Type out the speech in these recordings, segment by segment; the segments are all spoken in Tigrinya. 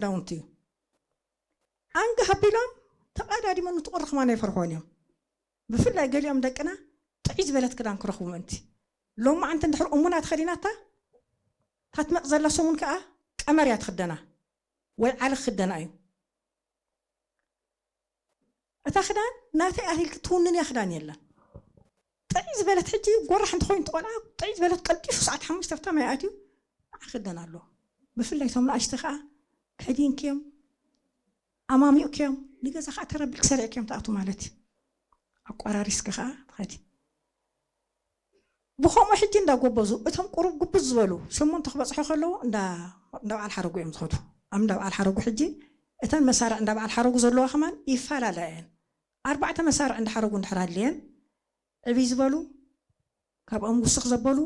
ክዳውንቲ እዩ። ኣንጋ ሃቢሎም ተቐዳዲሞም ንትቑር ከማን ኣይፈርሕዎን እዮም። ብፍላይ ገሊኦም ደቅና ጥዕይ ዝበለት ክዳን ክረኽቡ ምእንቲ። ሎማዓንቲ እንድሕር እሙና ተኸዲናታ፣ ታትመቕ ዘላ ሰሙን ከኣ ቀመር እያ ትኽደና ወይ ዓሊ ክኽደና እዩ። እታ ክዳን ናተይ ኣቲልኪ ትውንን እያ ክዳን የለን። ጥዕይ ዝበለት ሕጂ ጎራሕ እንተኾይኑ ትቖልዓ ጥዕይ ዝበለት ቀልጢፉ ሰዓት ሓሙሽተ ኣብታ ማይ ኣትዩ ክኽደን ኣለዎ። ብፍላይ እቶም ንኣሽቱ ከኣ ከዲንክዮም ኣማሚቕክዮም ንገዛ ከኣ ተረቢልክ ሰሪዕክዮም ትኣቱ ማለት እዩ። ኣቋራሪስኪ ከኣ ትኸዲ። ብኸምኡ ሕጂ እንዳጎበዙ እቶም ቁሩብ ጉብዝ ዝበሉ ሸሞንተ ክበጽሑ ከለዉ እንዳ እንዳ በዓል ሓረጉ እዮም ዝኸዱ። ኣብ እንዳ በዓል ሓረጉ ሕጂ እተን መሳርዕ እንዳ በዓል ሓረጉ ዘለዋ ከማን ይፈላለያ እየን። ኣርባዕተ መሳርዕ እንዳ ሓረጉ እንድሕር ኣድልየን ዕብይ ዝበሉ ካብኦም ውስኽ ዘበሉ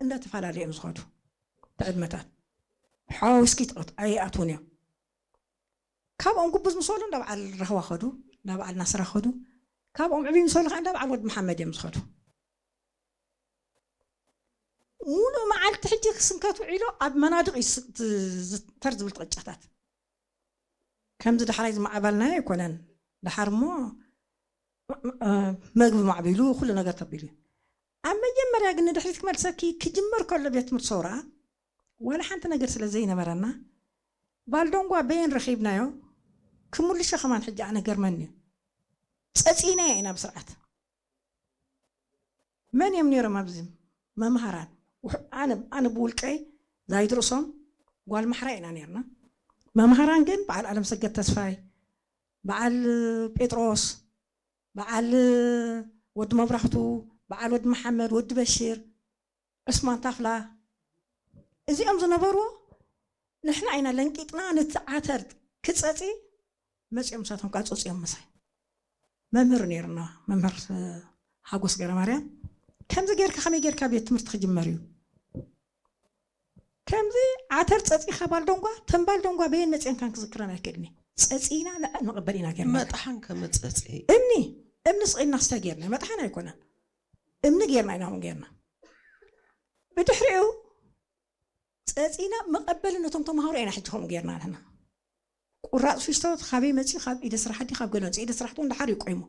እንዳተፈላለዩ እዮም ዝኸዱ። ብዕድመታት ሓዋዊስኪ ትቐት ኣይኣትውን እዮም። ካብኦም ጉብዝ ምስ በሉ እንዳ በዓል ራህዋ ኸዱ፣ እንዳ በዓል ናስራ ኸዱ። ካብኦም ዕብይ ምስ በሉ ከዓ እንዳ በዓል ወዲ መሓመድ እዮም ዝኸዱ። ሙሉእ መዓልቲ ሕጂ ክስንከት ውዒሉ ኣብ መናድቕ እዩ ስ- ት- ዝተር ዝብል ቅጫታት። ከምዚ ዳሕራይ ዝማዕባልናዮ ኣይኮነን። ድሓር እሞ እ፣ መግቢ ማዕቢሉ ኩሉ ነገር ተቢሉ እዩ። ኣብ መጀመርያ ግን ንድሕሪት ክመልሰኪ ክጅመር ከሎ ቤት ትምህርቲ ሰውራ ዋላ ሓንቲ ነገር ስለ ዘይነበረና ባልዶንጓ በየን ረኺብናዮ ክምልሾ ከማን ሕጂ ኣነ ገርመኒ እዩ። ጸጺእናዮ ኢና ብስርዓት። መን እዮም ነይሮም ኣብዚ መምሃራን? ውሕ- ኣነ ኣነ ብውልቀይ ዛይድ ርእሶም ጓል ማሕራ ኢና ነርና። መምሃራን ግን በዓል ኣለምሰገድ ተስፋይ፣ በዓል ጴጥሮስ፣ በዓል ወዲ መብራህቱ፣ በዓል ወዲ መሓመድ፣ ወዲ በሽር፣ ዑስማን ታፍላ፣ እዚኦም ዝነበርዎ ንሕና ኢና ለንቂጥና ነቲ ዓተር ክጸጺ መጺኦም ንሳቶም ከዓ ጸጺኦም ምሳይ። መምህር ነይርና መምህር ሓጎስ ገረማርያም ከምዚ ጌርካ ከመይ ጌርካ ቤት ትምህርቲ ክጅመር እዩ? ከምዚ ዓተር ጸጺኻ ባልደንጓ ተን ባልደንጓ በየን መጺአን ካን ክዝክረን ኣይክእልኒ። ጸጺና ንዕል ንቕበል ኢና ጌርና። መጥሓን ከመጸጺ እምኒ እምኒ ስቒልና ክስታይ ጌርና መጥሓን ኣይኮነን እምኒ ጌርና ኢና ከምኡ ጌርና። ብድሕሪኡ ጸጺና መቐበሊ ነቶም ተምሃሮ ኢና ሕጂ ከምኡ ጌርና ንሕና። ቁራጽ ፊስቶ ካበይ መጺኡ? ካብ ኢደ ስራሕ ድዩ ካብ ገለ መጺኡ? ኢደ ስራሕ እውን ደሓር እዩ ቆይሙ።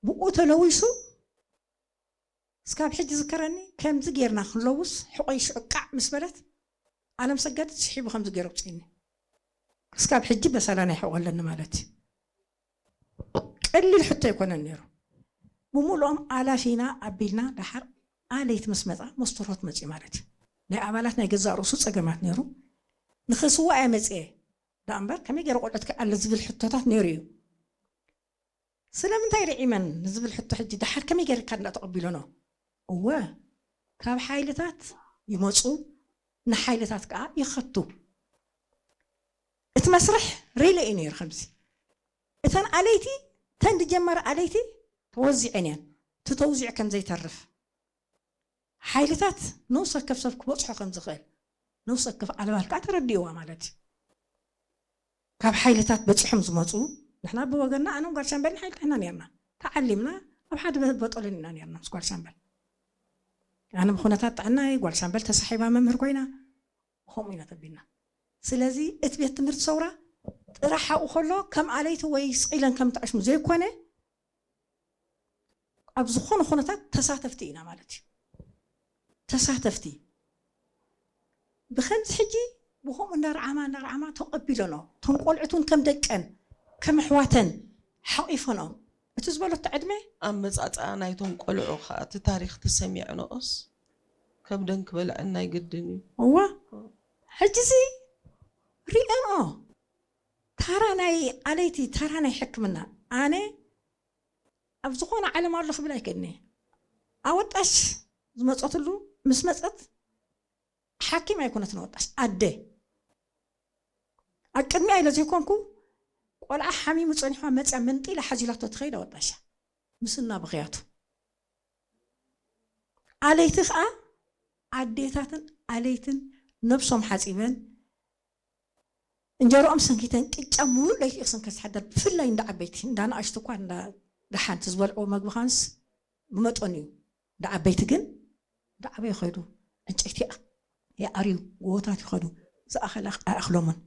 ብኡ ተለዊሱ እስካብ ሕጂ ዝከረኒ ከምዚ ጌርና ክንለውስ ሕቆይ ሽዑ ቃዕ ምስ በለት ኣለም ሰገድ ስሒቡ ከምዚ ገይሩ ኣውፅእኒ። እስካብ ሕጂ በሰላ ናይ ሕቆ ኣለኒ ማለት እዩ። ቀሊል ሕቶ ኣይኮነን ነይሩ። ብምሉኦም ኣላፊና ኣቢልና ደሓር ኣለይቲ ምስ መፃ መስተርሆት መፅኡ ማለት እዩ። ናይ ኣባላት ናይ ገዛእ ርእሱ ፀገማት ነይሩ። ንክስዋእ እየ መፅየ ደኣ እምበር ከመይ ገይረ ቆልዑት ክኣለ ዝብል ሕቶታት ነይሩ እዩ። ስለምንታይ ርዒመን ንዝብል ሕቶ ሕጂ ደሓር ከመይ ገይርካ እንዳተቐቢለኖ? እወ ካብ ሓይልታት ይመፁ ንሓይልታት ከዓ ይኸቱ። እቲ መስርሕ ሪለ እዩ ነይሩ ከምዚ እተን ኣለይቲ እተን ዝጀመረ ኣለይቲ ተወዚዐን እየን እቲ ተውዚዑ ከም ዘይተርፍ ሓይልታት ንውስ ወከፍ ሰብ ክበፅሖ ከም ዝኽእል ንውስ ወከፍ ኣልባል ከዓ ተረዲእዋ ማለት እዩ። ካብ ሓይልታት በፂሖም ዝመፁ ንሕና ብወገንና ኣነን ጓል ሻምበልን ሓይልታት ኢና ነርና ተዓሊምና ኣብ ሓደ በጠልን ኢና ነርና ምስ ጓል ሻምበል ኣነ ብኩነታት ጥዕናይ ጓል ሻምበል ተሳሒባ መምህር ኮይና ከምኡ ኢና ተቢልና። ስለዚ እቲ ቤት ትምህርቲ ሰውራ ጥራሕ ኣብኡ ከሎ ከም ኣለይቲ ወይ ስቕ ኢለን ከም ትዕሽሙ ዘይኮነ ኣብ ዝኾነ ኩነታት ተሳተፍቲ ኢና ማለት እዩ። ተሳተፍቲ ብኸምዚ ሕጂ ብኸምኡ እንዳረዓማ እንዳረዓማ ተቐቢለኖ እቶም ቆልዑት እውን ከም ደቀን ከም ኣሕዋተን ሓቒፈንኦም እቲ ዝበለቶ ዕድመ ኣመፃፅኣ ናይቶም ቆልዑ ከዓ እቲ ታሪክ ተሰሚዕንኦስ ከብደን ክበልዐን ናይ ግድን እዩ። እዋ ሕጂ እዚ ሪኤንኦ ታራ ናይ ኣለይቲ ታራ ናይ ሕክምና ኣነ ኣብ ዝኾነ ዓለም ኣሎ ክብል ኣይክእልኒ። ኣወጣሽ ዝመፀትሉ ምስ መፀት ሓኪም ኣይኮነትን ኣወጣሽ ኣደ ኣብ ቅድሚኣ ኢለ ዘይኮንኩ ቆልዓ ሓሚሙ ፀኒሕዋ መፅያ መንጢላ ሓዚላቶ ትኸይድ ኣወጣሻ ምስና ብኽያቱ ኣለይቲ ከዓ ኣዴታትን ኣለይትን ነብሶም ሓፂበን እንጀርኦም ሰንኪተን ቅጫ ሙሉእ ለይቲ እኽስን ከዝሓደር ብፍላይ እንዳ ዓበይቲ እንዳ ንኣሽቱ እኳ እንዳ ደሓንቲ ዝበልዕዎ መግቢ ኻንስ ብመጠኑ እዩ። እንዳ ዓበይቲ ግን እንዳ ዓበዩ ኸይዱ ዕንጨይቲ ይኣ- ይኣርዩ ጎቦታት ይኸዱ ዝኣኸለ ኣይኣኽሎምን።